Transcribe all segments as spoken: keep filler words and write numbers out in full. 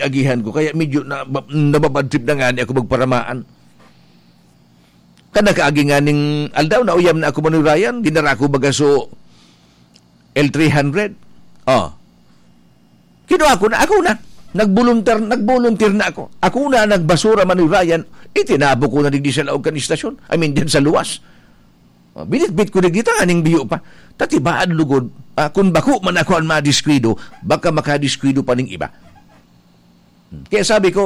agihan ko. Kaya medyo na, nababad trip na ngani ako magparamaan. Kan nakaagi nganing aldaw, nauyam na ako, Manoy Ryan, dinara ko baga so L three hundred. Oh. Kinuha ko na, ako na. Nagboluntar, nagbolunteer na ako. Ako na nagbasura, Manoy Ryan. Itinabo ko na digdi sa laog kan istasyon. I mean, dyan sa luwas. Oh, binitbit ko digdi, tanganing biyo pa. Tatibaad lugod, ah, kung bako man ako ang madiskwido, baka makadiskwido pa ning iba. Kaya sabi ko,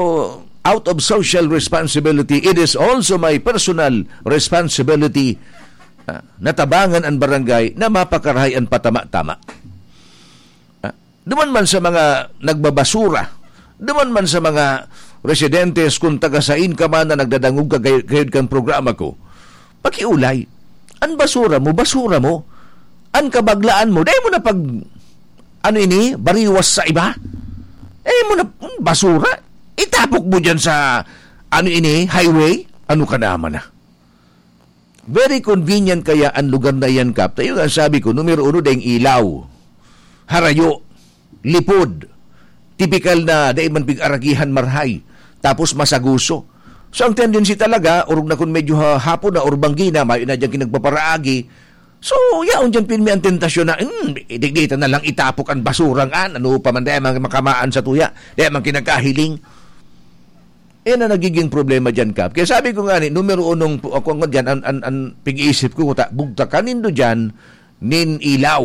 out of social responsibility, it is also my personal responsibility, ah, na tabangan an barangay na mapakarahay an patama-tama. Ah, duman man sa mga nagbabasura, duman man sa mga residentes, kung taga-sain ka man na nagdadangog ka gay-, gayod kan programa ko, pakiulay. An basura mo, basura mo. An kabaglaan mo, dai mo na pag, ano ini, bariwas sa iba. Eh, mo na, basura. Itapok mo dyan sa, ano ini, highway. Ano ka naman na? Very convenient kaya ang lugar na yan, Kap. Tayo nga, sabi ko, numero uno, dayong ilaw. Harayo. Lipod. Tipikal na dai man pig-aragihan marhay. Tapos masaguso. So, ang tendency talaga, orog na kun medyo ha-, hapon na or banggi na, mayo na dyan kinagpaparaagi. So, yaon dyan pinmi ang tentasyon na, "Hmm, digdi ta na lang itapok ang basurang an, ano pa man, dai man makamaan sa tuya, dai man kinakahiling." Yan ang nagiging problema dyan, Kap. Kaya sabi ko nga ni, numero unong, ako nga dyan, an, an, an, pig-iisip ko, ta, bugtakan nindo dyan, nin ilaw.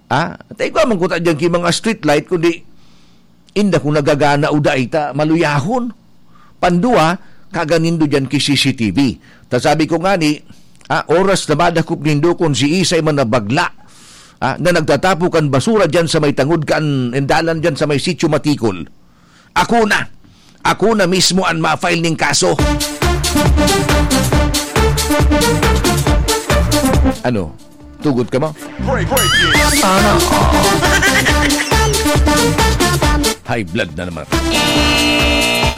Ah, tay ko man kuta diyan ki mga street light, kundi inda kung nagagana o dai ta maluyahon. Pandua, kaganindo diyan ki C C T V. Ta sabi ko ngani, ah, oras na madakop nindo kung si isay man na bagla, ah, na nagtatapo kan basura diyan sa may tangod kan dalan diyan sa may Sitio Matikol. Ako na. Ako na mismo an ma-file ning kaso. Ano? Tugot ka mo? Break, break. Sana all. High blood na naman.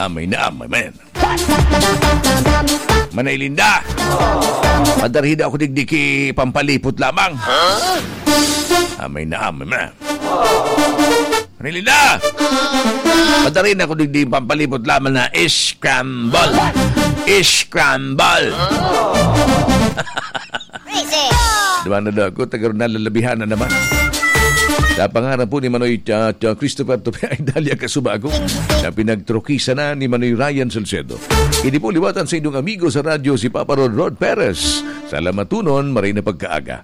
Amay na amay, man. Manay Linda! Padarhi na ako digdi ki pampalipot lamang. Amay na amay, man. Manay Linda! Padarhi na ako digdi pampalipot lamang na scramble. Scramble. Crazy. Diba na daw ako, taga ron nalalabihan na naman. Sa pangaran po ni Manoy, ah, ah, Christopher Tope Idalia Kasubago, na pinagtrokisa na ni Manoy Ryan Salcedo. Ini po liwatan sa inyong amigo sa radyo, si Papa Rod Rod Perez. Sa Lamatunon, maray na pagkaaga.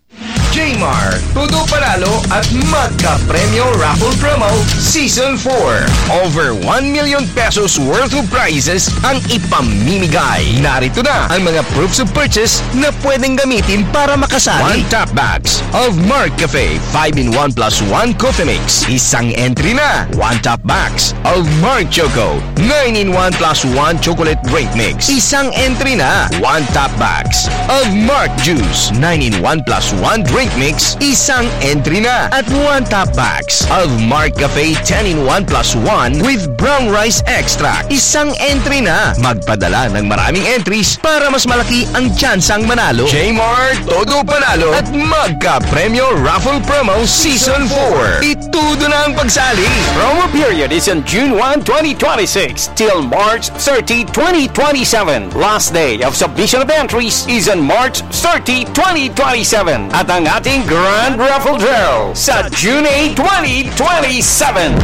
Jmar, Todo Panalo at Magka Premyo Raffle Promo Season four. Over one million pesos worth of prizes ang ipamimigay. Narito na ang mga proofs of purchase na pwedeng gamitin para makasali. One top bags of Mark Cafe five-in-one plus one Coffee Mix. Isang entry na. One top bags of Mark Choco nine-in-one plus one Chocolate Drink Mix. Isang entry na. One top bags of Mark Juice nine-in-one plus one Drink Mix. Isang entry na. At one top bags of Mark Cafe ten-in-one plus one with Brown Rice Extract. Isang entry na. Magpadala ng maraming entries para mas malaki ang tsansang manalo. Jmar, Todo Panalo at Magka Premyo Raffle Promo Season four. Itudo na ang pagsali. Promo period is on June one, twenty twenty-six till March thirty, twenty twenty-seven. Last day of submission of entries is on March thirty, twenty twenty-seven. At ang ating Grand Raffle Draw sa June eight, twenty twenty-seven.